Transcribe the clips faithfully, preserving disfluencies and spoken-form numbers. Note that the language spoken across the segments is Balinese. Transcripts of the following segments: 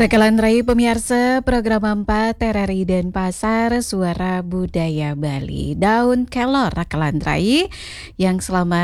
Rakelan rai pamiarsa, program empat R R I Denpasar, Suara Budaya Bali. Daun kelor, rakelan rai, yang selama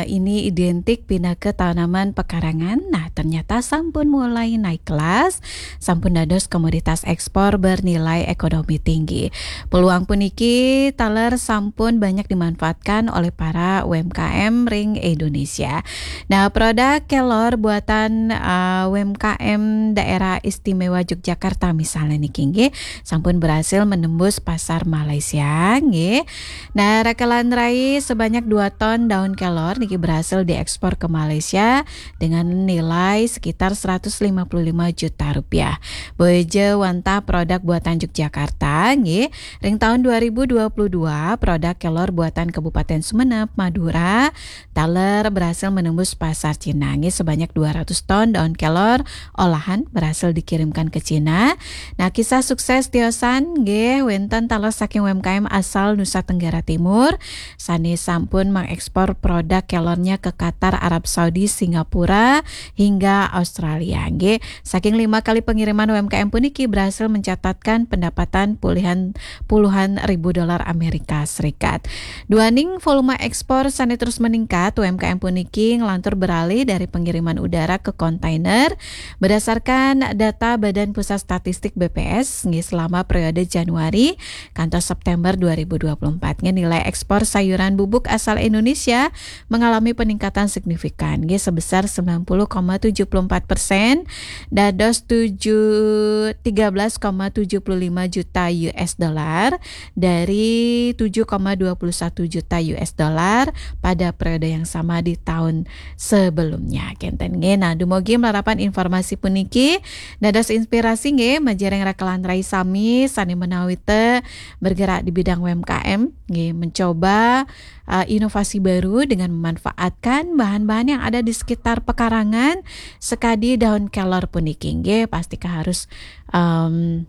ini identik pinaka tanaman pekarangan, nah, ternyata sampun mulai naik kelas, sampun dados komoditas ekspor bernilai ekonomi tinggi. Peluang puniki taler sampun banyak dimanfaatkan oleh para U M K M ring Indonesia. Nah, produk kelor buatan, eh, U M K M Daerah Istimewa Yogyakarta misalnya niki, nggih, sampun berhasil menembus pasar Malaysia, nggih. Nah, rakelan rai, sebanyak dua ton daun kelor niki berhasil diekspor ke Malaysia dengan nilai sekitar seratus lima puluh lima juta rupiah. Boya ja wantah produk buatan Yogyakarta, nggih. Ring tahun dua ribu dua puluh dua, produk kelor buatan Kabupaten Sumenep, Madura, taler berhasil menembus pasar Cina, nggih, sebanyak dua ratus ton daun kelor olahan berhasil dikirimkan ke Cina. Nah, kisah sukses tiosan, nggih, wenten taler saking U M K M asal Nusa Tenggara Timur, sane sampun mengekspor produk kelornya ke Qatar, Arab Saudi, Singapura, hingga Australia, nggih. Saking lima kali pengiriman, U M K M puniki berhasil mencatatkan pendapatan puluhan, puluhan ribu dolar Amerika Serikat. Duaning volume ekspor sane terus meningkat, U M K M puniki nglantur beralih dari pengiriman udara ke kontainer. Berdasarkan data Badan Pusat Statistik, B P S, nggih, selama periode Januari kantos September dua ribu dua puluh empat, nggih, nilai ekspor sayuran bubuk asal Indonesia mengalami peningkatan signifikan, nggih, sebesar sembilan puluh koma tujuh puluh empat persen, dados tujuh, tiga belas koma tujuh puluh lima juta U S dollar dari tujuh koma dua puluh satu juta U S dollar pada periode yang sama di tahun sebelumnya. Kenten, nggih. Nah, dumugi malarapan informasi puniki dados inspirasi, nggih, majeng ring rakelan rai sami sane menawita bergerak di bidang U M K M, nggih, mencoba, eh, inovasi baru dengan memanfaatkan bahan-bahan yang ada di sekitar pekarangan, sekadi daun kelor puniki, nggih, pastika harus, em,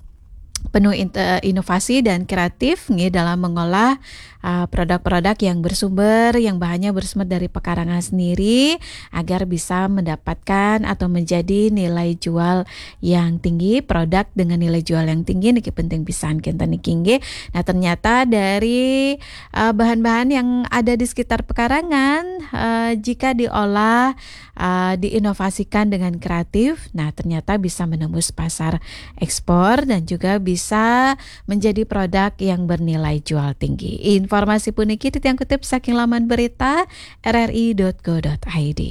penuh inte-, inovasi dan kreatif, nggih, dalam mengolah, eh, produk-produk yang bersumber, yang bahannya bersumber dari pekarangan sendiri, agar bisa mendapatkan atau menjadi nilai jual yang tinggi, produk dengan nilai jual yang tinggi niki penting pisan, kenten niki, nggih. Nah, ternyata dari, eh, bahan-bahan yang ada di sekitar pekarangan, eh, jika diolah, eh, diinovasikan dengan kreatif, nah, ternyata bisa menembus pasar ekspor dan juga bisa menjadi produk yang bernilai jual tinggi. Informasi puniki titiang kutip saking laman berita R R I dot co dot I D.